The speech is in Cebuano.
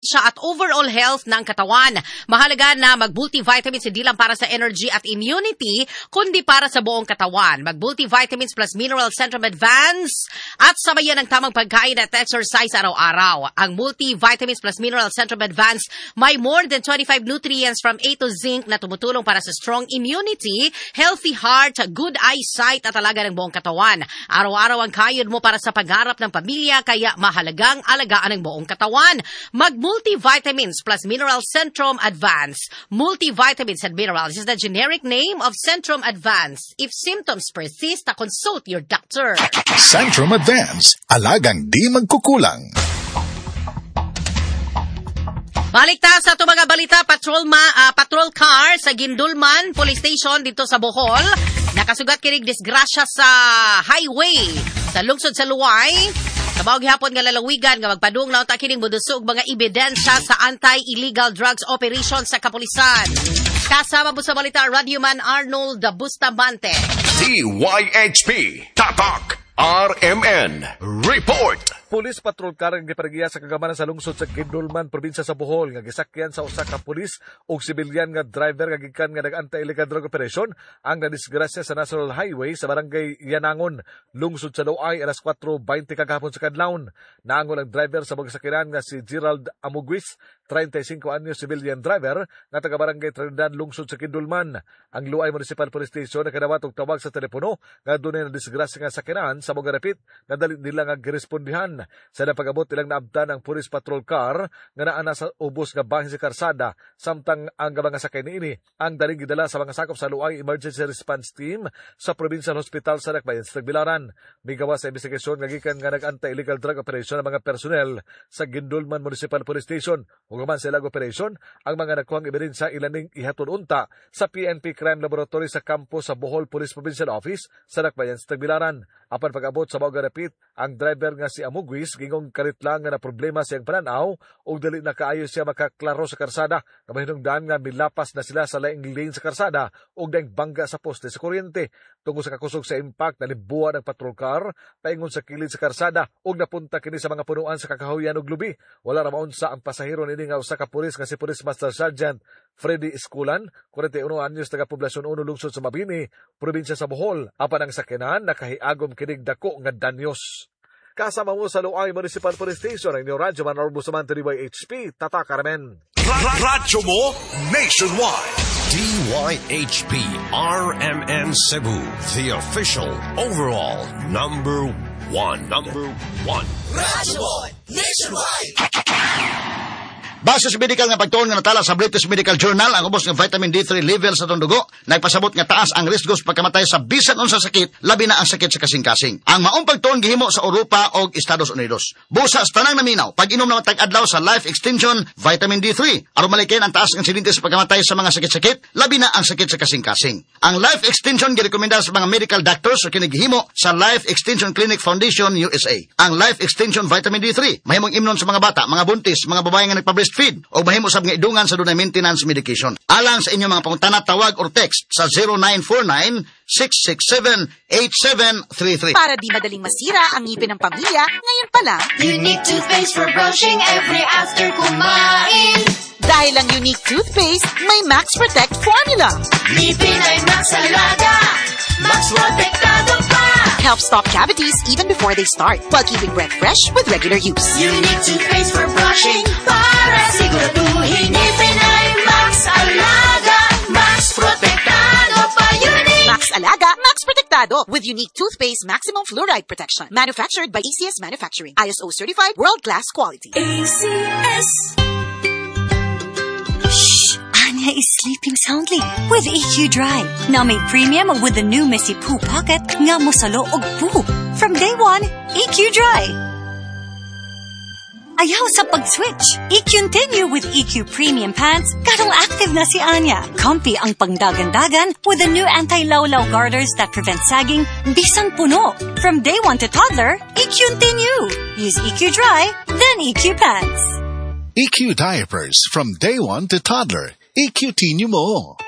At overall health ng katawan. Mahalaga na mag-multivitamins hindi lang para sa energy at immunity, kundi para sa buong katawan. Mag-multivitamins plus Mineral Centrum Advance at sabayan ng tamang pagkain at exercise araw-araw. Ang multivitamins plus Mineral Centrum Advance may more than 25 nutrients from A to zinc na tumutulong para sa strong immunity, healthy heart, good eyesight at alaga ng buong katawan. Araw-araw ang kayod mo para sa pagharap ng pamilya, kaya mahalagang alagaan ang buong katawan. Mag-multivitamins plus Mineral Centrum Advance. Multivitamins and minerals is the generic name of Centrum Advance. If symptoms persist, consult your doctor. Centrum Advance, alagang di magkukulang. Balik ta sa ato mga balita, patrol car sa Guindulman Police Station dito sa Bohol. Nakasugat kinig disgrasya sa highway sa lungsod sa Loay. Sa mao gihapon nga lalawigan nga magpadung na unta kining modusog mga ebidensya sa anti-illegal drugs operation sa kapulisan. Kasama mo sa balita, Radyoman Arnold Bustamante. DYHP Tatak RMN Report. Police patrol car ang gipargiya sa kagamanan sa lungsod sa Guindulman, probinsya sa Bohol, nga gisakyan sa usa ka pulis ug sibilyan nga driver nga gikan nga nag-anti-illegal drug operation ang nadisgrasya sa National Highway sa barangay Yanangon, lungsod sa Loay, alas 4:20 kagahapon sa kadlawon. Naangol ang driver sa mga sakyanan nga si Gerald Amuguis, 35 anyos, civilian driver nga taga barangay Trinidad, lungsod sa Guindulman. Ang Loay Municipal Police Station nakadawat og tawag sa telepono nga dunay nadisgrasya nga sakyanan sa mga rapit nga dali nila nga girespondihan. Sa napag-abot ilang naabtan ang police patrol car nga naa na sa ubos nga bahin sa karsada, samtang ang mga sakay niini ang daling gidala sa mga sakop sa Loay Emergency Response Team sa Provincial Hospital sa Dakbayan sa Tagbilaran. Migawas sa investigasyon nga gikan nga nag-anti-illegal drug operation ang mga personnel sa Guindulman Municipal Police Station. Ug human sa ilang operation, ang mga nakuhang ebidensya ilaning ihatod unta sa PNP Crime Laboratory sa kampo sa Bohol Police Provincial Office sa Dakbayan sa Tagbilaran. Apan pag-abot sa mao garapit, ang driver nga si Amuguis gingong kalit lang nga na problema siyang pananaw ug dali na kaayo siya makaklaro sa karsada nga mahinungdan nga milapas na sila sa laing lane sa karsada ug daing bangga sa poste sa kuryente. Tungod sa kakusog sa impact, nalimbuan ang patrol car paingon sa kilid sa karsada ug napunta kini sa mga punuan sa kakahuyan ug lubi. Wala ra maunsa ang pasahero niini nga usa ka pulis nga si Police Master Sergeant Freddy Esculan, 41 anyos, taga Poblacion 1, lungsod sa Mabini, probinsya sa Bohol. Apan ang sakyanan nakahiagom kinig dako nga danyos. Kasama mo sa Loay Municipal Police Station ang inyong Radyo Man Arnold Bustamante, DYHP, Tatak RMN. Radyo mo nationwide. DYHP RMN Cebu, the official overall number one. Number one. Radyo mo nationwide. Base sa medical nga pagtuon nga natala sa British Medical Journal, ang ubos nga vitamin D3 level sa atong dugo nagpasabot nga taas ang risgo sa pagkamatay sa bisan unsa sakit, labi na ang sakit sa kasing-kasing. Ang maong pagtuon gihimo sa Europa ug Estados Unidos. Busa sa tanang naminaw, pag-inom na matag adlaw sa Life Extension Vitamin D3 aron malikayan ang taas ng insidente sa pagkamatay sa mga sakit-sakit, labi na ang sakit sa kasing-kasing. Ang Life Extension girekomenda sa mga medical doctors o kini gihimo sa Life Extension Clinic Foundation USA. Ang Life Extension Vitamin D3 mahimong imnon sa mga bata, mga buntis, mga babae nga nagpa-breastfeed o mahimo sab nga idungan sa dunay maintenance medication. Alang sa inyong mga pangutana, tawag or text sa 0949-667-8733. Para di madaling masira ang ngipin ng pamilya, ngayon pa lang, Unique toothpaste for brushing every after kumain. Dahil ang Unique toothpaste, may Max Protect formula. Ngipin ay Max Alaga, Max Protektado pa. Help stop cavities even before they start, while keeping breath fresh with regular use. Unique toothpaste for brushing para siguraduhin ngipin ay Max Alaga, Max Protektado pa. Unique! Max Alaga, Max Protektado with Unique Toothpaste Maximum Fluoride Protection. Manufactured by ACS Manufacturing. ISO certified world-class quality. ACS. Shh! Anya is sleeping soundly with EQ Dry. Now made premium with the new Missy Poo Pocket nga mosalo og poo. From day one, EQ Dry. Ayaw sa pag-switch. EQ-continue with EQ Premium Pants. Karong active na si Anya. Comfy ang pangdagan-dagan with the new anti-lawlaw garters that prevent sagging bisan puno. From day one to toddler, EQ-continue. Use EQ Dry, then EQ Pants. EQ diapers from day one to toddler. EQ-tinue mo.